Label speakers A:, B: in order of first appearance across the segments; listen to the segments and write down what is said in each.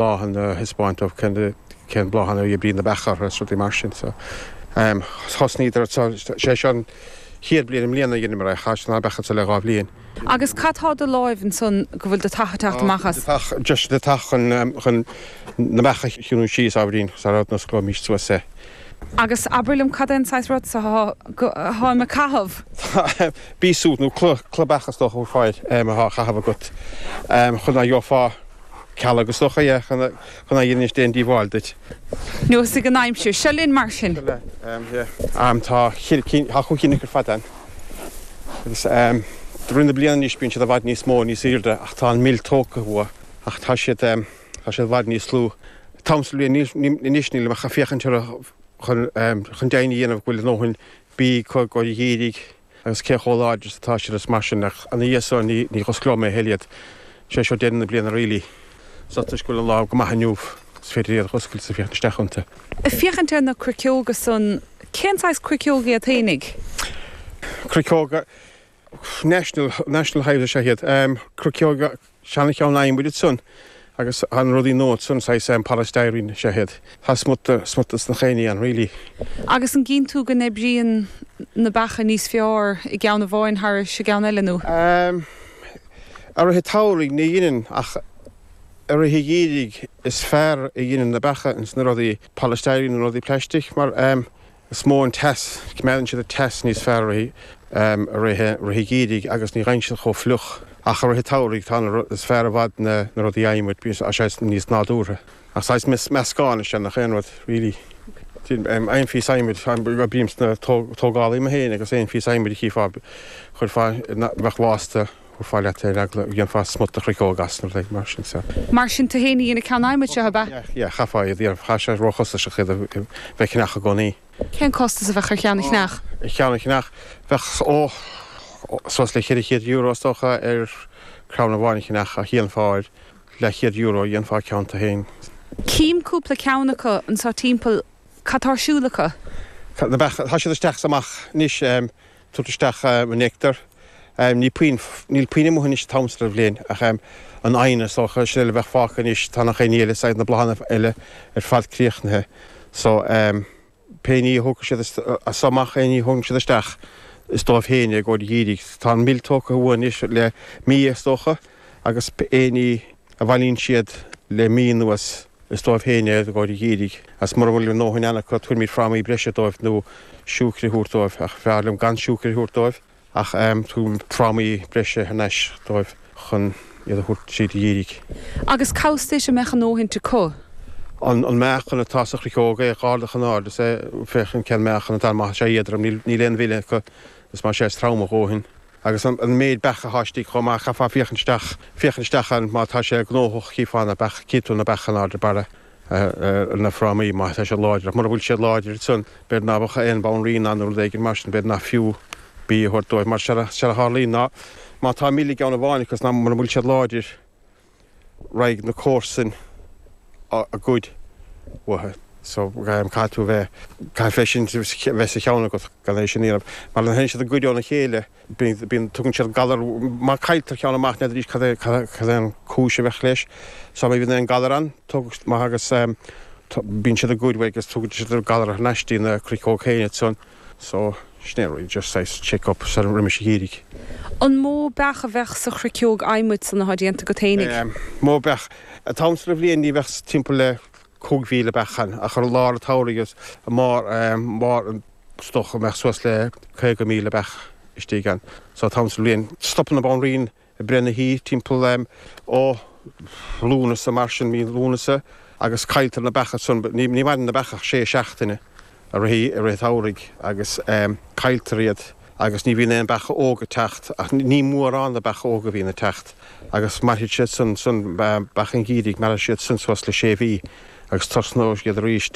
A: Bláthanna a thaispeáint dóibh cén bláthanna a oibríonn na beacha orthu is rudaí mar sin. So thosnaíodar so sé seo an chéad bliain i mbliana a dheineamar é, chaith na beacha so le 2 bhliain.
B: Agus cad tá i do láimh ansan go bhfuil deatach ag teacht amach as?
A: Deatach, just deatach chun chun na beacha a chiúnú síos ábhairín sara n-osclóimís suas é.
B: Agus abair liom cad é an saghas rud so atáim ag caitheamh?
A: Bee suit nó culaith beach is dócha a fáil atá á chaitheamh agat chun ná gheofá Cealg is dócha, yeah, chun ná dhéanfaidís aon díobháil duit.
B: Nós ag an aimsir. Seo linn mar sin.
A: Seo linn, yeah. Tá cheithre cinn, tá chúig chinn acu ar fad ann. Agus de rith na bliana anois bíonn siad i bhfad níos mó, níos aoirde ach tá an mil tógtha uathu ach tá siad, tá siad i bhfad níos lú. An t-am sa bhliain anois nílim ach ag féachaint orthu chun, chun deimhin a dhéanamh go bhfuil a ndóthain bídh acu i gcomhair an gheimhridh. Agus cé chomh láidir is atá siad is mar sin, ach ina dhiaidh so ní dh'osclóidh mé a thuilleadh iad. Sé seo deireadh na bliana really. So toisc go bhfuil an lá go maith inniu is féidir iad a dh'oscailt is a féachaint isteach iontu.
B: Ag féachaint ar na cruiceoga san, cén saghas cruiceog iad fhéinig?
A: Cruiceoga National, National Hives is ea iad. Cruiceoga Seana-cheann adhmaid ansan agus tá na rudaí nua ansan, saghas polystyrene is ea iad. Tá smut, smut sna chaon ní ann really.
B: Agus an gcíonn tú go n-oibríonn na beacha níos fearr i gceann amháin thairis an gceann eile nó?
A: I rith an tsamhraidh ní dheineann ach i rith an gheimhridh is fearr a dheineann na beacha ins na rudaí polystyrene na rudaí plaistic mar Is mó an teas, coimeádann siad an teas níos fearr i rith an gheimhridh agus ní bhíonn siad chomh fliuch. Ach i rith an tsamhraidh tá na, is fearr i bhfad na rudaí adhmaid, bíonn sé níos nádúrtha. Ach saghas meascán is ea nach aon rud, really. Aon phíosa adhmaid, oibrím sna tógálaí mé féin agus aon phíosa adhmaid a chífeá, chuirfeá, bheadh lasta, thabharfá leat é, dhéanfá smut de chruiceog as nó rud mar sin
B: so. Mar sin tú féin a dhein an ceann adhmaid seo, ab ea?
A: Yeah, yeah, chaithfeá iad a dhéanamh, tá sé róchostasach iad a bheith ag ceannach i gcónaí.
B: Cén costas a bheadh ar cheann a cheannach?
A: Ar cheann a cheannach, bheadh, ó, suas le €400 is dócha ar crann amháin a cheannach ach dhéanfá ar leathchéad euro, dhéanfá ceann tú féin.
B: Cím cúpla ceann acu anseo timpeall, cad tá ar siúl acu?
A: Na beacha, tá siad isteach is amach anois. tabhairt isteach an néactar. Ní puinn, níl puinn amuigh anois an t-am seo den bhliain ach an eidhne is dócha, sin uile a bheadh fágtha anois, tá nach aon ní eile, saghas na bláthanna eile ar fad críochnaithe. So pé ní a thógfaidh siad as so amach, aon ní a thógann siad isteach, is dóibh féin é i gcomhair an gheimhridh. Tá an mil tógtha uathu anois le mí is dócha agus aon ní a bhailíonn siad le mí anuas, Is dóibh féin é i gcomhair an gheimhridh, agus mura bhfuil a ndóthain ann acu, tabharfaimid frámaí breise dóibh nó siúcra a thabhairt dóibh, ach b'fhearr liom gan siúcra a thabhairt dóibh, ach tugaim frámaí breise thar n-ais dóibh chun iad a thabhairt tríd an gheimhreadh.
B: Agus cá bhfios duit an mbeadh a ndóthaint acu?
A: An meáchan atá sa chruiceog é dh'ardach in airde is é, féachaint cén meáchan atá ann, má tá sé éadrom, níl aon mhil acu, is má sé is trom a dhóthain. Agus an méid beach atá istigh chomh maith, chaithfeá féachaint isteach, féachaint isteach ann má tá sé gnóthach, chífeá na beacha, chífidh tú na beacha in airde barra ar na frámaí má tá siad láidir. Ach mura bhfuil siad láidir ansan, b'fhéidir ná beadh aon bhanríon ann nó rud éigin mar sin, b'fhéidir nach fiú bia a thabhairt dóibh. Mar séard a tharlaíonn ná má tá mil i gceann amháin acu is ná mura bhfuil siad láidir, raghaidh na comharsain a ghoid uathu. So caithfidh tú a bheith, caithfidh é sin a bheith sa cheann agat gan é sin a dhéanamh. Mar nuair a théann siad ag goid óna chéile, bíonn, bíonn, tugann siad galar, má cailltear ceann amach n'fheadar arís cad é, cad é an cúis a bheadh leis. So má bhíonn aon galar ann, tug, má agus bíonn siad ag goid uaidh agus tugann siad galar thar n-ais dtí na cruiceog féin ansan. So, sin é an rud, just saghas check up sar roimis an gheimhreadh.
B: An mó beach a bheadh sa chruiceog adhmaid san atá déanta agat fhéinig?
A: Mó beach. An t-am seo den bhliain ní bheadh timpeall le 5,000 beach ann, ach ar lár an tsamhraidh is i mbarr, mbarr is dócha go mbeadh suas le 50,000 beach istigh ann. So an t-am seo den bhliain, stopann an banríon ag breith na hí timpeall ó Lúnasa mar sin, mí Lúnasa, agus cailltear na beacha san, ní mhaireann na beacha ach sé seachtaine i rith i rith an tsamhraidh agus cailltear iad agus ní bhíonn aon beacha óga ag teacht ach ní mórán de beacha óga a bhíonn ag teacht agus mairfidh siad san san beacha an gheimhridh mairfidh siad san suas le sé mhí agus tosnóidh siad arís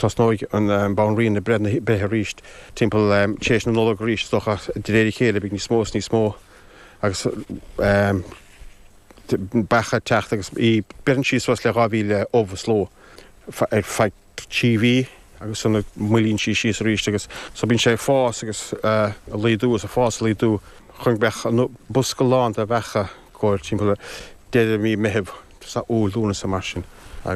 A: tosnóidh an banríon ag breith na breith arís timpeall tar éis na Nollag arís is dócha de réir a chéile beidh níos mó is níos mó. agus beacha ag teacht agus í, beireann sí suas le 2,000 ubh is ló ar feadh 3 mhí agus ansan moillíonn sí síos arís agus so bíonn sé ag fás agus ag laghdú agus ag fás ag laghdú chun go mbeadh an bosca lán de bheacha gcomhair timpeall deireadh mí Meitheamh, Iúil, Lúnasa mar sin.